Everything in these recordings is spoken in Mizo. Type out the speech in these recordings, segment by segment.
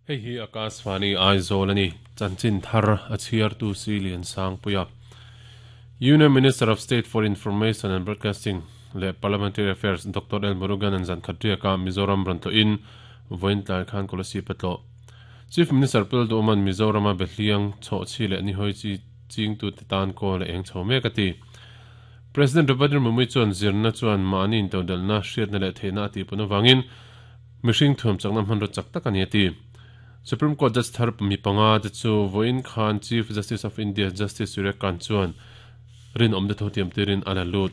Hei hi Akashvani Aizawl a ni. Chanchin thar a chhiartu si Liansangpuia. Union Minister of State for Information and Broadcasting leh Parliamentary Affairs Doctor L Murugan an zan khat riaka Mizoram rawn tlawhin vawiin tlai khan Kolasib a tlawh. Chief Minister Pul Duhman Mizorama behliang chhawhchhi leh nihawi chi chingtute tan kawl a eng chho mek a ti. President Draupadi Murmu chuan zirna chuan mahni intodelhna, hriatna leh theihna a tihpun avangin mihring thuam chakna hmanraw chak tak a ni a ti. Supreme Court Judge thar mi panga te chu vawiin khan Chief Justice of India Justice Surya Kant chuan rinawm te tho tiam tirin a la lut.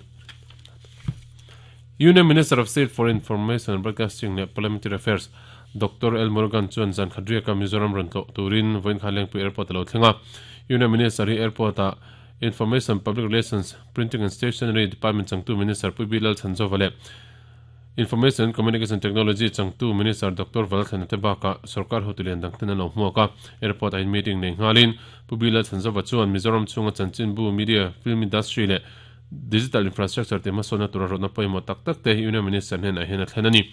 Union Minister of State for Information and Broadcasting leh Parliamentary Affairs Doctor L Murugan chuan zan khat riaka Mizoram rawn tlawh turin vawiin khan Lengpui Airport a lo thleng a. Union Minister hi airport-ah Information, Public Relations, Printing and Stationery Department changtu Minister Pu B Lalchhanzova leh Information and Communication Technology changtu Minister Doctor Valthlana te bakah sorkar hotu lian dang ten an lo hmuak a. Airport-ah hian meeting nei nghalin Pu B Lalchhanzova chuan Mizoram chhunga chanchinbu, media, film industry leh digital infrastructure te hmasawnna tura rawtna pawimawh tak tak te Union Minister hnenah hian a thlen a ni.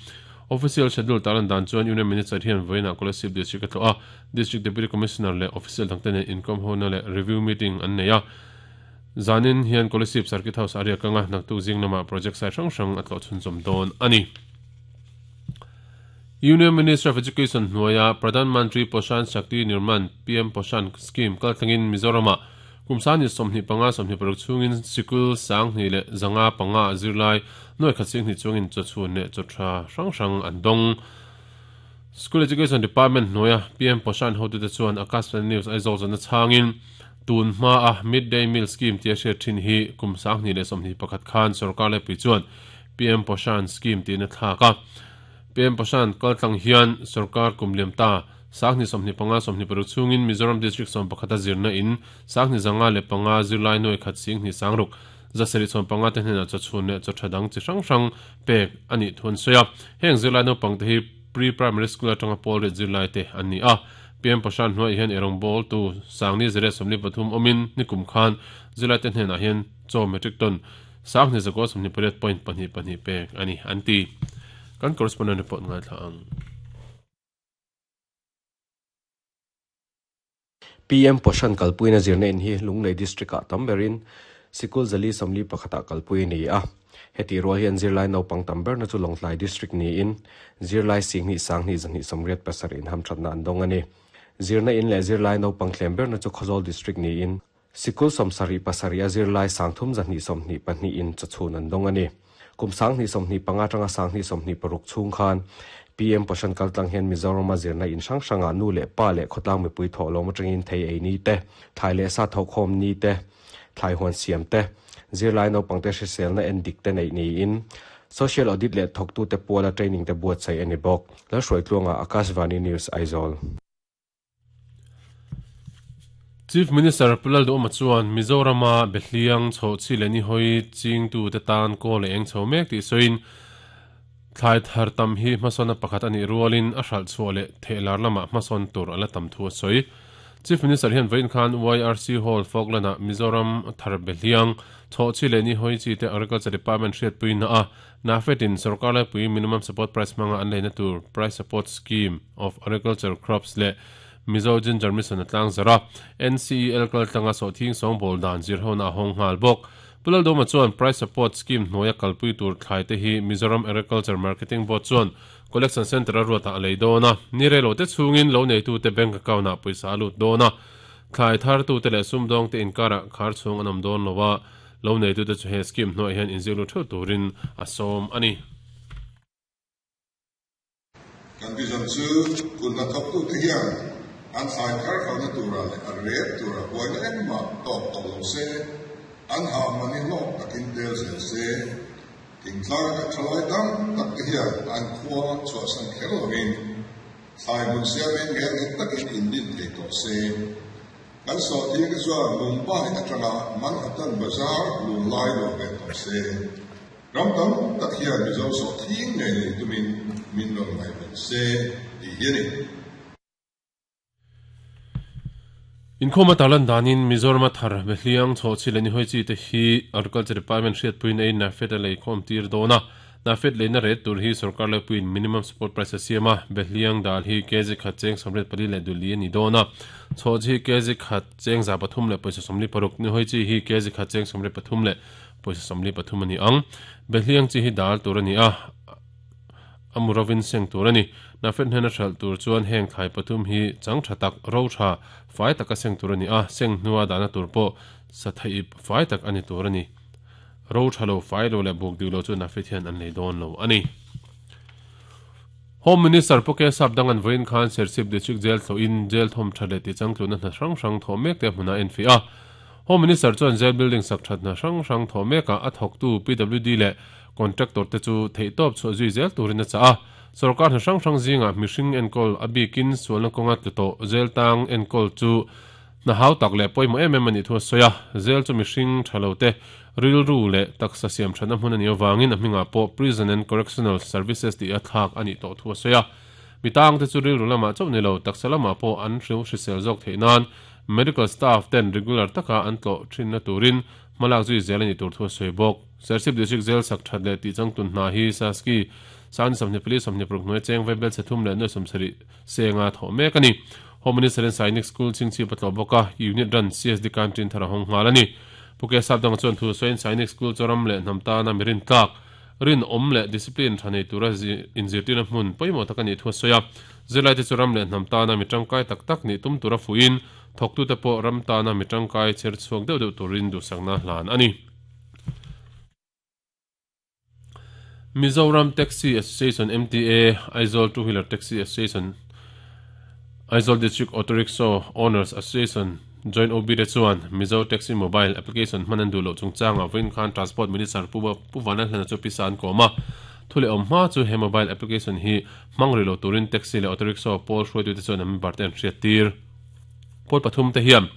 Official schedule tarlan dan chuan Union Minister hian vawiinah Kolasib District a tlawh a, District Deputy Commissioner leh official dangte nen inkawm hona leh review meeting an nei a. Zanin hian Kolasib Circuit House a riak anga naktuk zing lamah project site hrang hrang a tlawh chhunzawm dawn a ni. Union Ministry of Education hnuaia Pradhan Mantri Poshan Shakti Nirman, PM Poshan, scheme kaltlangin Mizoramah kum sani 25 26 chhungin sikul sanghnih leh zanga panga zirlai nuai khat singhnih chuangin chawchhun leh chawtha hrang hrang an dawng. School Education Department hnuaia PM Poshan hotute chuan Akashvani News Aizawl zawhna chhangin tun hmaa Mid-Day Meal Scheme tia hriat thin hi kum 2021 khan sorkar lepui chuan PM Poshan Scheme tiin a thlak a. PM Poshan kaltlang hian sorkar kum liam ta 2025 26 chhungin Mizoram District 11 a zirna in 2005 zirlai nuai khat singhnih sangruk 775 te hnenah chawchhun leh chawtha dang chi hrang hrang pek a nih thu an sawi a. Heng zirlai naupang te hi Pre-Primary School atanga pawl riat zirlai te an ni a. PM Poshan hnuaiah hian eirawng tu Sangni Zariat 43 awmin nikum khan zirlai te hnenah hian chaw metric ton Sangni Zakua 28.22 pek a ni an ti. Kan correspondent report ngaithla ang. PM Poshan kalpuina zirna in hi Lunglei District-ah tam berin sikul zali 41-ah kalpui a ni a. Heti rual hian zirlai naupang tam berna chu Lawngtlai District niin zirlai singhnih sanghnih zahnih sawmriat pasarih in hamthatna an dawng a ni. Zirna in leh zirlai naupang thlem berna chu Khawzawl District niin sikul 77 a zirlai sangthum zahnih 22 in chawchhun an dawng a ni. Kum 2025 atanga 2026 chhung khan PM Poshan kaltlang hian Mizorama zirna in hrang hrangah nu leh pa leh khawtlang mipui thawhlawm atangin thei ei ni te, thlai leh sa thawhkhawm ni te, thlai huan siam te, zirlai naupangte hriselna en dik te neih niin Social Audit leh thawktute puala training te buatsaih a ni bawk. Lalhruaitluanga, Akashvani News, Aizawl. Chief Minister Pu Lalduhawma chuan Mizorama behliang chhawhchhi leh nihawi chingtute tan kawl a eng chho mek tih sawiin thlai thar tam hi hmasawnna pakhat a nih rualin a hralh chhuah leh thehlar lamah hmasawn tur a la tam thu a sawi. Chief Minister hian vawiin khan YRC Hall Falkland-ah Mizoram thar behliang chhawhchhi leh nihawi chite Agriculture Department hriatpuina a NAFED-in sorkar laipui minimum support price hmanga an leina tur Price Support Scheme of Agriculture Crops leh Mizo Ginger Mission a tlang zarh a, NCEL kaltlanga sawhthing sawngbawl dan zirhona a hawng nghal bawk. Pu Laldawma chuan Price Support Scheme hnuaia kalpui tur thlai te hi Mizoram Agriculture Marketing Board chuan Collection Centre a ruatah a lei dawn a, ni reilo te chhungin lo neitute bank account-ah pawisa a lut dawn a, thlai thartute leh sumdawngte inkarah khar chhung an awm dawn lo a, Lo neitute chu he scheme hnuaiah hian inziak lut theuh turin a sawm a ni. Kan vision chu kut hnathawktute hian an thlai thar kalna turah leh a ret turah buaina engmah tawk tawh lo se, an hah mahni hlawk takin tel zel se. Thingtlang kan thalai tam takte hian an khua chhuahsan kher lovin thlai hmun siamin ngel nghet takin indin thei tawh se. Kan sawhthing te chuan Mumbai atanga Manhattan bazar lunglai lo ve tawh se. Ram tam tak hian Mizo sawhthing ngei nei tumin min rawn ngaihven se tih hi a ni. Inkhawm a tarlan danin Mizorama thar Behliang, Chhawhchhi leh Nihawi chi te hi Agriculture Department hriatpuiin ei NAFED a leikhawm tir dawn a. Nafed leina rate tur hi sorkar laipuiin minimum support price a siam a, Behliang dal hi kg khat cheng 84 leh duli a ni dawn a, Chhawhchi hi kg khat cheng 300 leh pawisa 46, Nihawi chi hi kg khat cheng 73 leh pawisa 43 a ni ang. Behliang chi hi dal tur a ni a, a mu rovin seng tur a ni. Nafed hnena hralh tur chuan heng thlai pathum hi chang tha tak, ro tha, fai taka seng tur a ni a, seng hnua dahna tur pawh sathaip fai tak a ni tur a ni. Ro tha lo, fai lo leh buk dik lo chu Nafit hian an lei dawn lo a ni. Home Minister Pu Kesap Dangan vawiin khan Serchhip District Jail thlawhin Jail thawm that leh tichangtluna hna hrang hrang thawh mek te hmunah a enfiah a. Home Minister chuan Jail building sak that hna hrang hrang thawh mekah a thawktu PWD leh Contractor te chu theihtawp chhuah zui zel turin a chah a. Sorkar hna hrang hrang zingah mihring enkawl a bikin sualna kawnga tlu tawh Jail tang enkawl chu Hna hau tak leh pawimawh em em a nih thu a sawi a, zel chu mihring tha lo te rilru leh taksa siam thatna hmun a nih avangin a hmingah pawh Prison and Correctional Services tih a thlak a nih tawh thu a sawi a. Mi tangte chu rilru lamah chauh ni lo, taksa lamah pawh an hriu hrisel zawk theih nan medical staff ten regular taka an tlawh thinna turin hmalak zui zel a nih tur thu a sawi bawk. Serchhip District Jail sak that leh tih changtun hna hi Saski Sangni 24 26 hnuai cheng vaibel chhe thum leh nuai 70 senga thawh mek a ni. Home Minister in Sainik School chhingchhip a tlawh bawk a, Unit run CSD Canteen thar a hawng nghal a ni. Pu Kesap dang chuan thu sawiin Sainik School chu ram leh hnam tana mi rintlak, rinawm leh discipline tha nei tura inzirtirna hmun pawimawh tak a nih thu a sawi a. Zirlaite chu ram leh hnam tana mi tangkai tak tak nih tum tura fuhin, thawktute pawh ram tana mi tangkai chher chhuak deuh deuh turin duhsakna hlan a ni. Mizoram Taxi Association, MTA, Aizawl Two Wheeler Taxi Association, Aizawl District Auto Rickshaw Owners Association Joint OB te chuan Mizo Taxi Mobile Application hman an duh loh chungchangah vawiin khan Transport Minister Pu Pu Vanlalhlana chu pisa an kawm a. Thu leh awm hma chu he mobile application hi hmang rih lo turin taxi leh auto rickshaw pawl hruaitute chuan an member te an hriattir. Pawl pathum te hian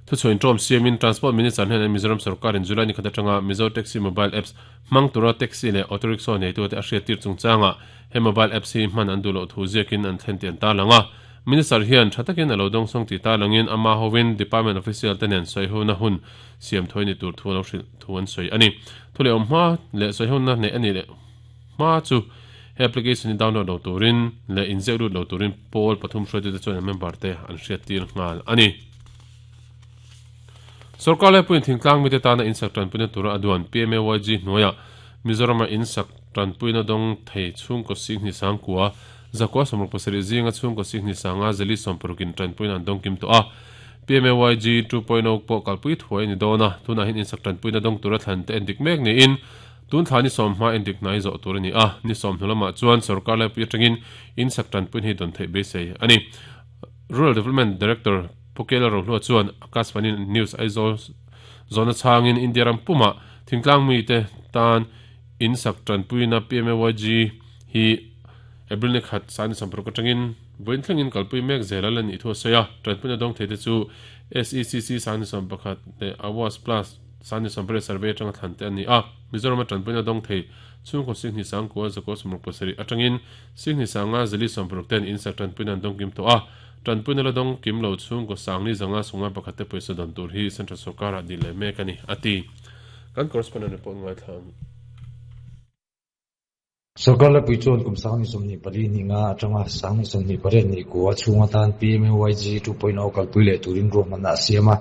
Thuchhuah inṭawm siamin Transport Minister hnenah Mizoram sorkarin July ni khat aṭanga Mizo Taxi Mobile Apps hmang tura taxi leh auto rickshaw neitute a hriattir chungchangah he mobile apps hi hman an duh loh thu ziakin an thlen tih an tarlang a. Minister hian ṭha takin a lo dawngsawng tih tarlangin ama hovin department official te nen sawihona hun siam thawi ni tur thu a lo hrilh thu an sawi a ni. Thu leh awm hma leh sawihona neih a nih leh hma chu he application hi download lo turin leh inziak lut lo turin pawl pathum hruaitute chuan an member te an hriattir nghal a ni. Sorkar laipuiin thingtlang mite tana insak tanpuina tura a duan PMAYG hnuaiah Mizorama insak tanpuina dawng thei chhungkaw Singhni Sangkua, Zakua 77 zinga chhungkaw Singhni Sanga Zeli 60 in tanpuina an dawng kim tawh a. PMAYG 2.0 pawh kalpui thuai a ni dawn a, tunah hian insak tanpuina dawng tura thlan te endik mek niin tun thla ni sawm hma endik hnai zawh tur a ni a, ni sawm hnu lamah chuan sorkar laipui atangin insak tanpuina hi dawn theih beisei a ni. Rural Development Director Pu Kela Rohlua chuan Akashvani News Aizawl zawhna chhangin India ram pumah thingtlang mite tan in sak tanpuina PMAYG hi April ni khat Sani 60 atangin vawiin thlengin kalpui mek zel a la nih thu a sawi a. Tanpuina dawng theite chu SECC Sani 11 leh Awas Plus Sani 18 survey atanga thlan te an ni a. Mizorama tanpuina dawng thei chhungkaw Singhni Sangkua Zakua 67 atangin Singhni Sanga Zali 60 ten in sak tanpuina an dawng kim tawh a. Tanpuina la dawng kim lo chhungkaw Sangni zanga sawmnga pakhat te pawisa dawn tur hi Central Sorkarah dil leh mek a ni, a ti. Kan correspondent report ngaithla ang. Sorkar Laipui chuan kum 24 ni nga atanga 28 ni kua chhung atan PMAYG 2.0 kalpui leh turin ruahmanna a siam a.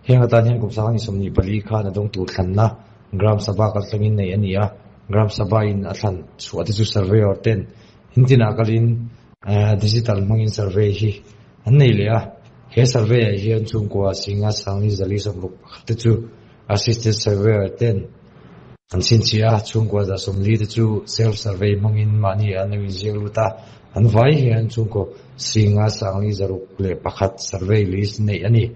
Heng atan hian kum 24 khan a dawng tur thlanna Gram Sabha kaltlangin nei a ni a. Gram Sabha in a thlan chhuah te chu surveyor ten in tinah kalin Digital hmangin survey hi an nei leh a, he survey ah hian chhungkua Singa Sangni Zali 60 pakhat te chu assisted surveyor ten an chhinchhiah a, chhungkua 140 te chu self survey hmangin mahni an lo inziak lut a, an vai hian chhungkaw Singa Sangni 101 survey list neih a ni.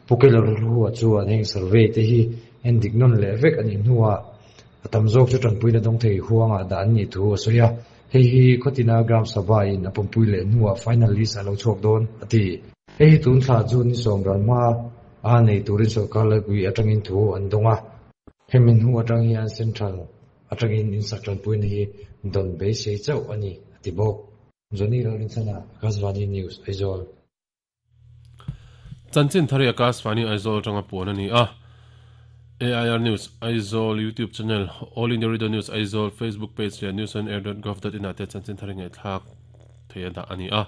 Pu Kelawrhlua chuan heng survey te hi endik nawn leh vek a nih hnuah a tam zawk chu tanpuina dawng thei huangah dah an nih thu a sawi a. Hei hi Khawtina Gram Sabha in a pawmpui leh hnuah final list a lo chhuak dawn, a ti. Hei hi tun thla chu ni sawm ral hma a nei turin sorkar laipui atangin thu an dawng a. Hemi hnu atang hian Central atangin insak tanpuina hi dawn beisei chauh a ni, a ti bawk. Johnny Lalrinchhana, Akashvani News, Aizawl. Chanchin thar hi Akashvani Aizawl atanga puan a ni a. AIR News Aizawl YouTube channel, All India Radio News Aizawl Facebook page leh newsonair.gov.in ah te chanchin thar ngaihthlak theih a dah a ni a.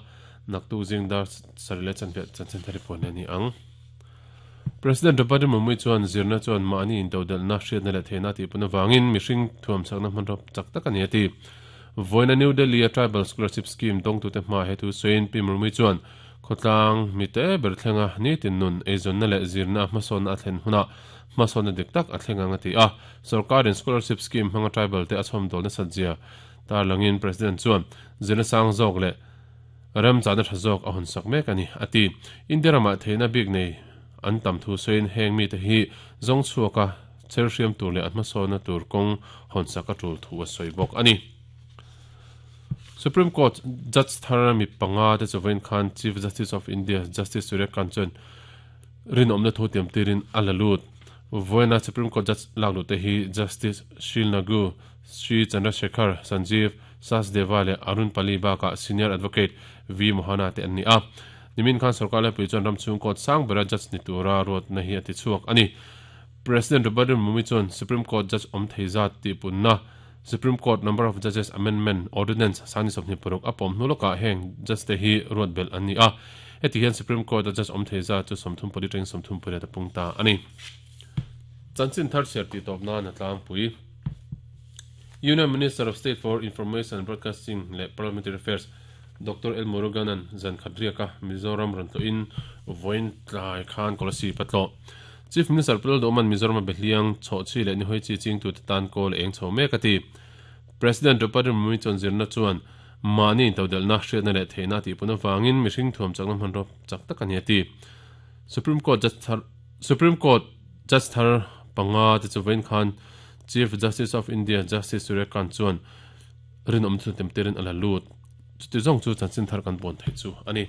Naktuk zing dar sarih leh chanve chanchin thar hi puan leh a ni ang. President Draupadi Murmu chuan zirna chuan mahni intodelhna, hriatna leh theihna a tihpun avangin mihring thuamchakna hmanraw chak tak a ni a ti. Vawiina New Delhi-a Tribal Scholarship Scheme dawngtute hmaah he thu sawiin Pi Murmu chuan khawtlang mite ber thlenga nitin nun eizawnna leh zirna a hmasawnna a thlen hunah hmasawnna dik tak a thleng ang a ti a. Sorkarin Scholarship Scheme hmanga tribal te a chhawmdawl nasat zia tarlangin President chuan zirna sang zawk leh Remchahna tha zawk a hawnsak mek a ni, a ti. India ramah theihna bik nei an tam thu sawiin heng mite hi zawng chhuaka cher hriam tur leh an hmasawnna tur kawng hawnsak a tul thu a sawi bawk a ni. Supreme Court Judge thar mi panga te chu vawiin khan Chief Justice of India Justice Surya Kant chuan rinawmna thu tiam tirin a la lut. Vawiina Supreme Court Judge lak luh te hi Justice Sheel Nagu, Shri Chandrasekhar Sanjeev, Sachdeva leh Arun Pali bakah Senior Advocate V Mohana te an ni a. Nimin khan sorkar laipui chuan ram chhung court sang bera judge ni tura ruatna hi a ti chhuak a ni. President Draupadi Murmu chuan Supreme Court judge awm thei zat tihpunna Supreme Court Number of Judges Amendment Ordinance sani 26 a pawm hnu lawkah heng judge te hi ruat belh an ni a. Heti hian Supreme Court a judge awm thei zat chu 34 atangin 38 a pung ta a ni. Chanchin thar chhiar tih tawp nan a tlangpui. Union Minister of State for Information and Broadcasting leh Parliamentary Affairs Doctor L Muruganan zan khat riaka Mizoram rawn tlawhin vawiin tlai khan Kolasib a tlawh. Chief Minister Pu Lalduhman Mizoram a behliang chhawhchhi leh nihawi chi chingtute tan kawl a eng chho mek a ti. President Draupadi Murmu chuan zirna chuan mahni intodelhna, hriatna leh theihna a tihpun avangin mihring thuam chakna hmanraw chak tak a ni a ti. Supreme Court Judge thar Supreme Court Judge thar panga te chu vawiin khan Chief Justice of India Justice Surya Kant chuan rinawm chu temtirin a la lut. Chuti zawng chu chanchin thar kan puan theih chu a ni.